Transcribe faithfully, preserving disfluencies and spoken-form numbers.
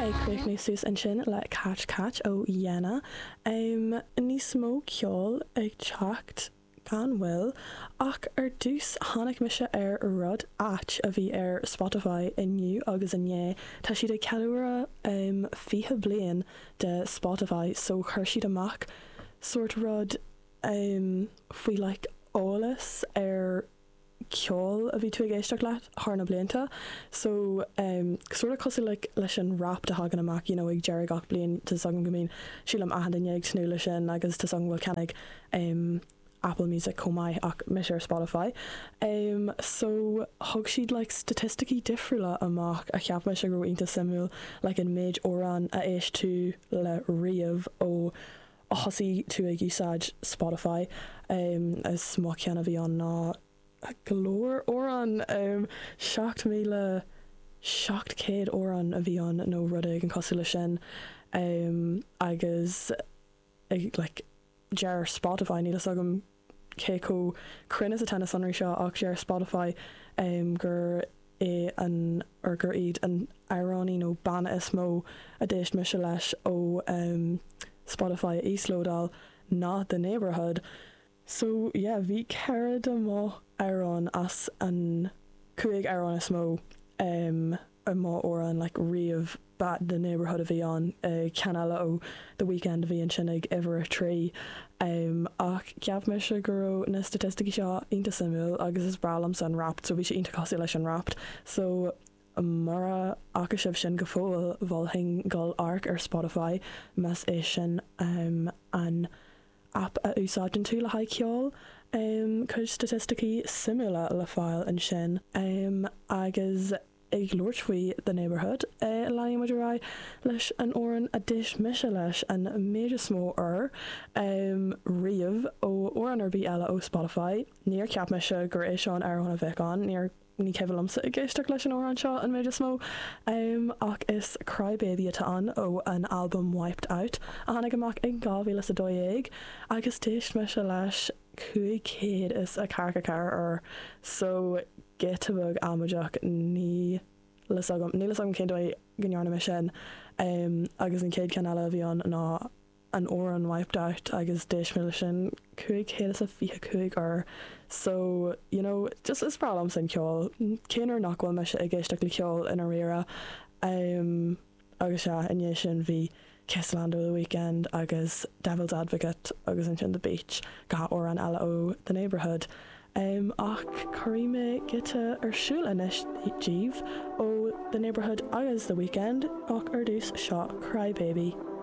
Ag críochnú suas ansin le Catch Catch ó Yena. Um, níos mó ceol ag teacht gan mhoill ach ar dtús tháinig mise ar rud ait a bhí ar Spotify inniu agus inné tá siad ag ceiliúradh um, fiche bliain de Spotify so chuir siad amach sort rud um, faoi like eolas ar ceol a bhí tú ag éisteacht leat thar na blianta so um, sort of cosúil like, leis an Wrapped a thagann amach you know, ag deireadh gach bliain tá agam go mbíonn sílim achan duine ag tnúth leis sin agus tá an bhfuil ceannaigh um, Apple Music chomh maith ach mise ar Spotify. Um, so thug siad like, staitisticí difriúla amach a cheap mise go iontach suimiúil like, an méid amhrán a éist tú le riamh ó a thosaigh tú ag úsáid Spotify um, is mo cheann a bhí ann ná go leor amhrán um, seacht míle seacht céad amhrán a bhí ann nó rud an cosúil leis sin um, agus ag like, deir Spotify níl agam cé chomh cruinn is atá na sonraí seo ach deir Spotify um, gur é an or gur iad an amhránaí nó banna is mó a d'éist mise leis ó um, Spotify a íoslódáil ná The Neighbourhood. So yeah, bhí ceithre de mo amhrán as an cúig amhrán is mó um, i mo amhrán like, riamh ba The Neighbourhood a bhí ann uh, ceann eile ó The Weeknd a bhí ansin ag uimhir a trí um, ach cheap mise go raibh na staitisticí seo iontach suimiúil agus is breá liomsa an Wrapped so bhí sé iontach cosúil leis an Wrapped so mura fhaca sibh sin go fóill mholfainn dul amharc ar Spotify más é sin um, an app a úsáideann tú le haghaidh ceol um, cuid staitisticí suimiúla le fáil ansin um, agus ag labhairt faoi The Neighbourhood uh, leanfaidh muid ar aghaidh leis an amhrán a d'éist mise leis an méid is mó ar um, riamh ó amhrán ar bith eile ó Spotify. Níor cheap mise gur é seo an amhrán a bheadh ann, níor ní cuimhin liomsa ag éisteacht leis an amhrán seo an méid is mó um, ach is Crybaby atá ann ó an album Wiped Out a tháinig amach ag dhá mhíle a dó dhéag agus d'éist mise leis cúig chéad is a ceathracha ceathair uair so giota beag amaideach níl a fhios agam níl a fhios agam cén dóigh go ndearna mé sin um, agus an chéad cheann eile a bhí ann ná an amhrán Wiped Out agus d'éist mé leis sin cúig chéad is a fiche cúig uair so you know just is breá liomsa an ceol cén uair nach bhfuil mise ag éisteacht le ceol ina rire um, agus sea inné sin bhí Kiss Land ó The Weeknd agus Devil's Advocate agus ansin The Beach dhá amhrán eile ó The Neighbourhood. Um, ach cuirfidh mé giota ar siúl anois daoibh ó The Neighbourhood agus The Weeknd ach ar dtús seo Crybaby.